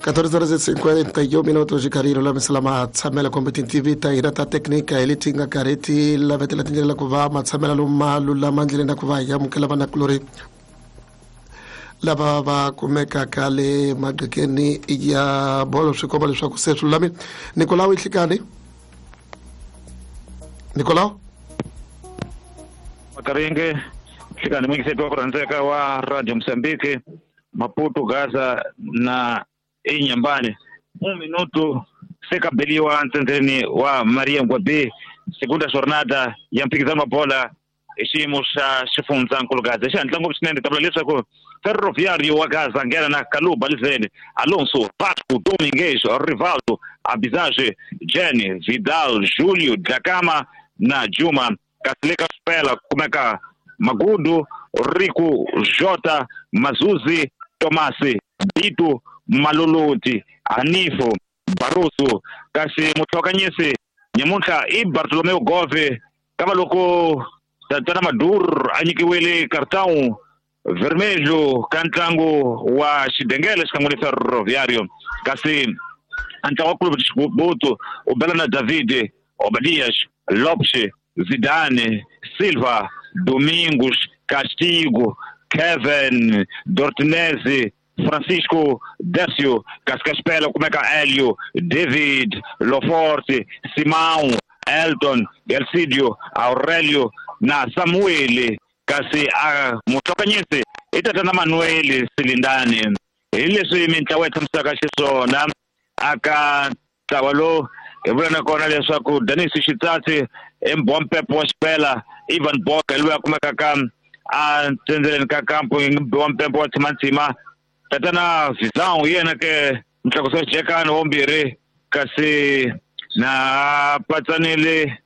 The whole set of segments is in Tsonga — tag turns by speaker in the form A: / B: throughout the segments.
A: 14:51 xikarhi lulamisela matshamelo kumbe tintivi ta hina ta teknika hi leti nga karhi ti lavetela tindlela ku va matshamelo loma lulama ndleleni na ku va hi amukela vanakulori lava va kumekaka le magqekeni ya bolo. Swi komba leswaku se swi lulamile. Nikolawu Ihlikani, Nikolawu.
B: Makaringe Hlikani, muyingiseti wa ku rhandzeka wa Radio Mozambique, Maputo, Gaza na Inhambane. Un minuto se kabeliwa ntsendzeni wa Maria Ngwabi, segunda jornada ya mphikizano wa bola hi xiyimo xa xifundzankulu Gaza. Xi hatla ngopfu swinene, ta vula leswaku Ferroviario wa Gaza nghena na Kaluba Lizeni, Alonso, Vasco, Domingues, Rivaldo, Abizage, Jenny, Vidal, Julio, Dlakama na Juma. Kasi le ka Swipela kumeka Magudu, Riku, Jota, Mazuzi, Tomasi, Bitu, Maloloti, Hanifo, Barusu. Kasi mutlhokanyisi nyamuntlha i Bartolomeo Gove, kava loko Tatana Madur a nyikiwile cartão vermelho ka ntlangu wa Xidengele xikan'we ni Ferroviario. Kasi a ntlangu wa Clube de Chibuto u bela na David, Obadias, Lopes, Zidane, Silva, Domingos, Castigo, Kevin, Dortinez, Francisco, Décio. Kasi ka Xipela kumeka Elio, David, Loforte, Simão, Elton, Elcidio, Aurelio na Samuel. Kasi a muhlokanyisi i tatana Manuel Silindani. Hi leswi mintlawa yi tshamisaka xiswona aka ntlawa lowu hi vula na kona leswaku Denis Xitsatsi i mbompepo wa Xipela, Ivan Boka hi loyi a kumekaka a ntsendzeleni ka kampo wa mpempo wa Tshimantsima, tatana Vizão hi yena ke mutlakusi wa xijekani wa vumbirhi, kasi na patsanile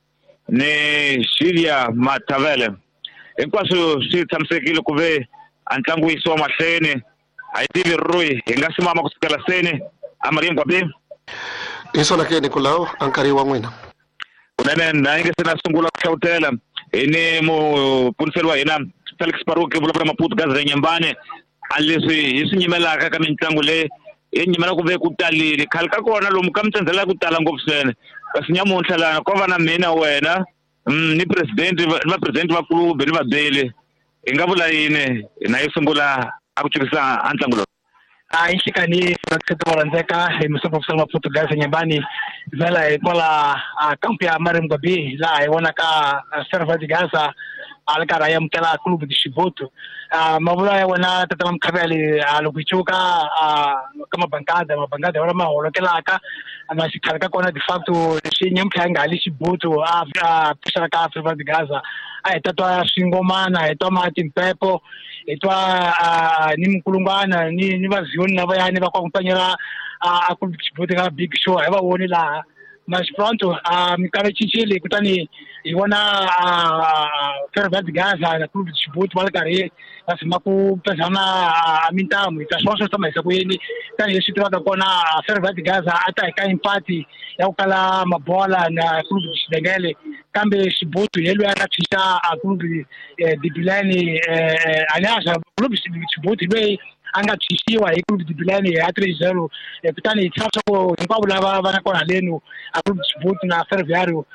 B: ni Julia Matavele. Hinkwaswo swi tshamisekile ku ve a ntlangu wu yisiwa mahlweni. A yi tivi Rui hi nga simama kusukela seni a Maria Ngwabi.
A: Hi swona ke, Nikolawu, a nkarhi wa n'wina.
B: Kunene na yi nge se na sungula ku hlawutela hi ni mupuniseli wa hina Felix Paruki, vulavula Maputo Gaza Nyambane. A leswi hi swi nyimelaka ka mitlangu leyi hi nyimela ku ve ku talile khale ka kona lomu ka mitsendzela ku tala ngopfu swinene, kasi nyamuntlha lana ko va na mina wena ni president ni vapresidenti va club ni vabeli. Hi nga vula yini na yi sungula a ku chukisa a ntlangu lowu?
C: A yi nhlikani vakreste va rhandzeka hi misopofisela Maputo Gaza Nyambani, vhela hi kwala a kampu ya Mariam Gwabi, laha hi vonaka Serva de Gaza a ri karhi a amukela Clube de Chibuto. Mavula ya wena tatana Mukhavele, loko hi cuka ka mabankada mabankada ya wona ma holokelaka na xikhale ka kona, de facto leswi nyamuntlha ya nga hali Chibuto a pfuxela ka Serva de Gaza, a hi ta twa swingomana, hi twa ma timpepo, hi twa ni minkulungwana ni vaziyoni lavayani va kwakumpanyela a Clube de Chibuto ka big show, hi va voni laha. Mas pronto, a minkarhi cincile, kutani hi vona Ferroviário de Gaza na Clube de Chibuto va ri karhi va zama ku pezana a mintamu. Hi ta swona swi tshama hisa ku yini, tanihileswi tivaka kona Ferroviário de Gaza a ta hi ka empati ya ku kala mabola na Clube de Xidengele, kambe Chibuto hi loyi a nga tshwisa a Clube de Bilene, aliás Clube de Chibuto hi loyi a nga tshwisiwa hi Clube de Bilene ya 3-0. Kutani hi tshama swa ku hinkwavo lava va nga kona halenu a Clube de Chibuto na Ferroviário.